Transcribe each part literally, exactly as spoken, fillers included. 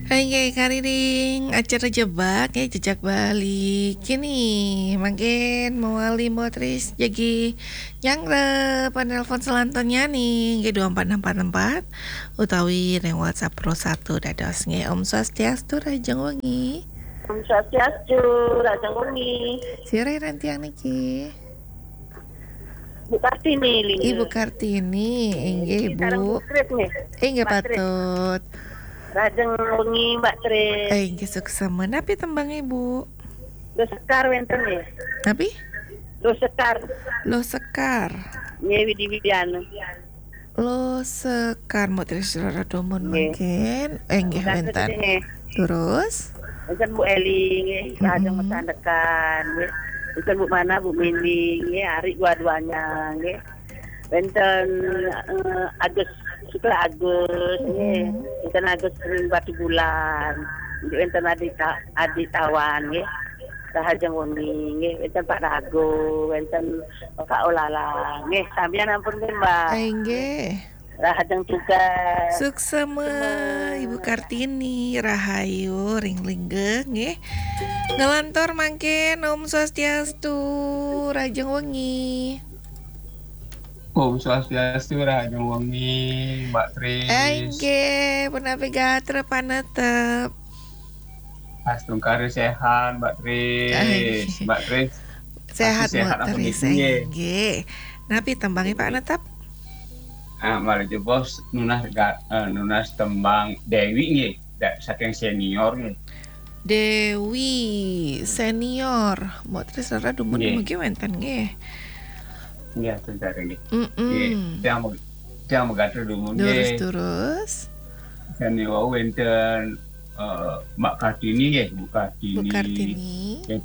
Oke, kariring acara Jebak ya, Jejak Bali. Kini mangkin mawali motris jagi nyanggra panelpon selanturnya nih, nggih dua empat enam empat empat utawi ring WhatsApp Pro satu dados nggih. Om Swastiastu, rahajeng wengi. Om Swastiastu, rahajeng wengi. Sira ring tiang niki? Bu Kartini, Lingga. Ibu Kartini, inggih, Niki sareng Bu. Bu Kris, nggih. Inggih, Mbak Kris. Patut. Rahajeng wengi, Mbak Kris. Eh, inggih, suksma. Napi tembang Ibu? Luh Sekar wénten, nggih. Napi? Luh Sekar. Luh Sekar. Nggih, Widi Widiana. Luh Sekar, Mbok Tris Rara Dumun. Nggih. Mangkin. Eh, inggih, Terima kasih, wénten. Nggih. Terus? Wénten Bu Eli, nggih. Mm-mm. Rahajeng masandekan, nggih. Wénten Bu Mana, Bu Mini, nggih, Ari dua-duanya, nggih. Wénten, eh, Agus, Sukla Agus, nggih. Mm-mm. Wénten Agus ring Batubulan. Nggih, wénten Adi Ta-, Adi Tawan, nggih. Rahajeng wengi, nggih. Wénten Pak Rago, wénten Pak Olala, nggih. Sampeyan ampun, nggih, Mbak. Eh, inggih. Rahajeng tugas. Suksma, Suksma. Ibu Kartini, rahayu, ring Lingga, nggih. Nglantur mangkin, Om Swastiastu, rahajeng wengi. Om Swastiastu, rahajeng wengi, Mbak Tris. Inggih, punapi gatra panetep? Astungkara séhat, Mbak Tris. Inggih. Mbak Tris, séhat, pasti séhat Mbak Tris, nggih. Inggih. Napi tembangé, Pak Netep? Ah, malih jebos nunas ga-, eh, nunas tembang Déwi nggih, da-, saking senior nggih. Déwi senior. Mbok Tris Rara dumun nggih. Mugi wénten nggih. Nggih, atur sareng nggih. Mm-mm. Nggih, tiang meg-, tiang megatur dumun nggih. Durus, durus. Sami wau wénten, eh, Mbak Kartini nggih, Bu Kartini. Bu Kartini. Nggih,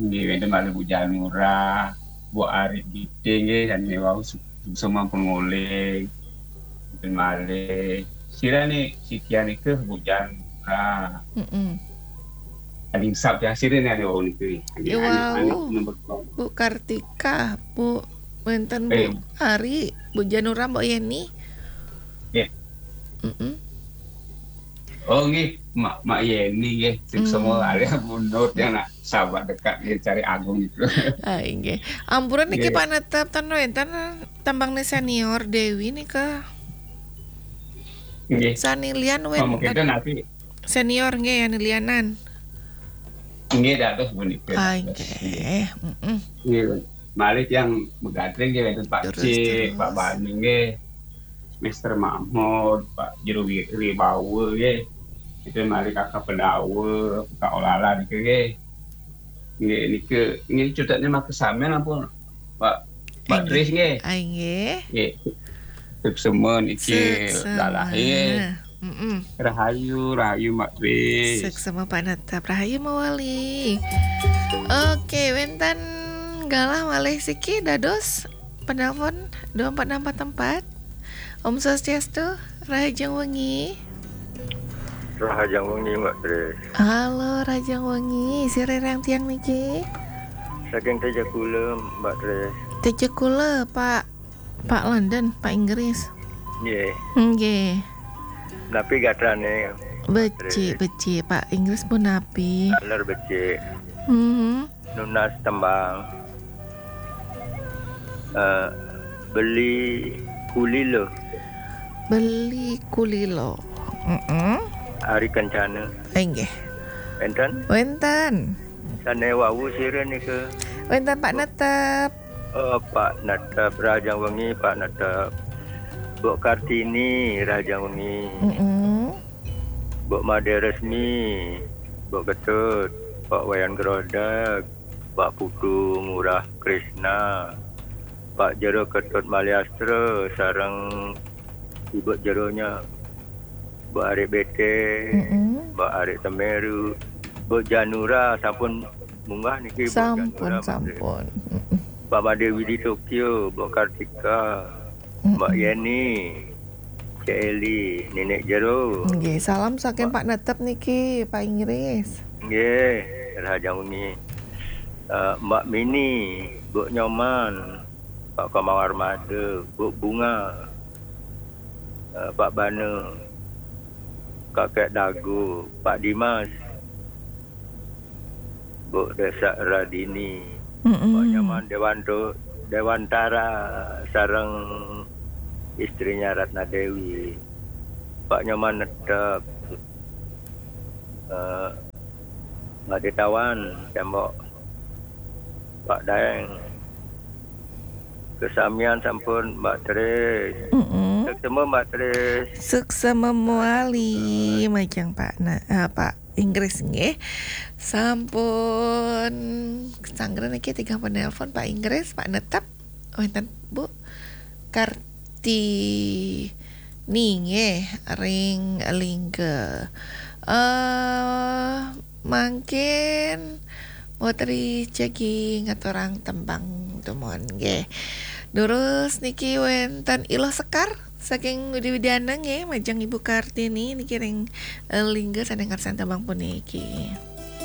nggih, wénten malih Bu Janura, Bu Ari Giting nggih, sami wau su-, sampun nguling. Wénten malih. Sira niki, sikian niki Bu Janura. Mm-mm. Paling sap ya sira niki anu wau niki. Ya, anu, anu, wau. Nomor dua. Bu Kartika, Bu, wénten Bu Eh. Ari, Bu Janura, Mbok Yeni. Nggih. Mm-mm. Oh, nggih, Mak, Mak Yeni nggih. Sing Mm. Semua alih Bu Nur yang nak sahabat dekat nggih, cari Agung itu. Ah, inggih. Ampura niki Nggih. Panetep ten wénten tembang senior Déwi nika. Nggih. Sani lian wénten. Oh, mungkin nanti. Senior nggih, anu lianan. Nggih, dados punika, ah, dados. Inggih. Mm-mm. Nggih, malih tiang megatur nggih wénten Pak Terus, Cik, terus. Pak Bani nggih. Mister Mahmud, Pak Jero Wi-, Wibawa nggih. Itu malih Kakak Pendawa, Kak Olala niki nggih. Nggih, niki, nggih, cutetnya maka sampean ampun, Pak, Pak Inggih. Tris nggih. Ah, inggih. Nggih. Suksema niki Suksema. Lalah nggih. Mm-mm. Rahayu, rahayu Mbak Tris. Suksema Pak Netep, rahayu mawali. Oke, wénten galah malih siki dados penelpon dua empat enam empat empat. Om Swastiastu, rahajeng wengi. Rahajeng wengi, Mbak Tris. Halo, rahajeng wengi. Sira ring tiang niki? Saking Tejakula, Mbak Tris. Tejakula, Pak, Pak London, Pak Inggris. Nggih. Nggih. Napi gatrane, Mbak Tris? Becik, becik, Pak Inggris punapi? Taler becik. Mhm. Nunas tembang, eh, Beli Kulila. Beli Kulila. Mm-mm. Ari Kencana. Inggih. Wénten? Wénten. Sane wau sira nika. Wénten Pak Netep. Oh, Pak Netep, rahajeng wengi, Pak Netep. Mbok Kartini, rahajeng wengi. Mm-mm. Mbok Made Resmi, Mbok Ketut, Pak Wayan Grodeg, Pak Putu Ngurah Krisna, Pak Jero Ketut Maliastra, sareng Ibu Jeronya, Mbok Ari Bete, Mm-mm. Mbok Ari Temeru, Mbok Janura sampun munggah niki, Mbok Sampun, Janura, Mbok Tri. Sampun. Mm-mm. Mbok Made Widi Tokyo, Mbok Kartika, Mbak Mm-mm. Yeni, Cik Eli, Nenek Jero. Nggih, salam saking Mbak Pak Netep niki, Pak Inggris. Nggih, rahajeng wengi. Eh, Mbak Mini, Mbok Nyoman, Pak Komang Armada, Mbok Bunga, eh, Pak Bana, Kakek Dago, Pak Dimas, Bu Desa Radini, Pak Nyoman Dewanto, Dewantara sareng istrinya Ratna Dewi, Pak Nyoman Netep, eh, Mbak Detawan, Tembok, Pak Daeng. Kesamian sampun Mbak Tris. Mm-mm. Suksma Mbak Tris. Suksma mawali majeng Pak na, eh, Pak Inggris nggih. Sampun sanggra niki tigang penelpon Pak Inggris, Pak Netep. Wenten Bu Kartini nggih ring Lingga. Eh mangkin Putri jagi ngaturang tembang tumon nggih. Durus niki wenten Iluh Sekar saking Widi Widiana nggih majeng Ibu Kartini niki ring eh, Lingga sane ngarsan tembang puniki.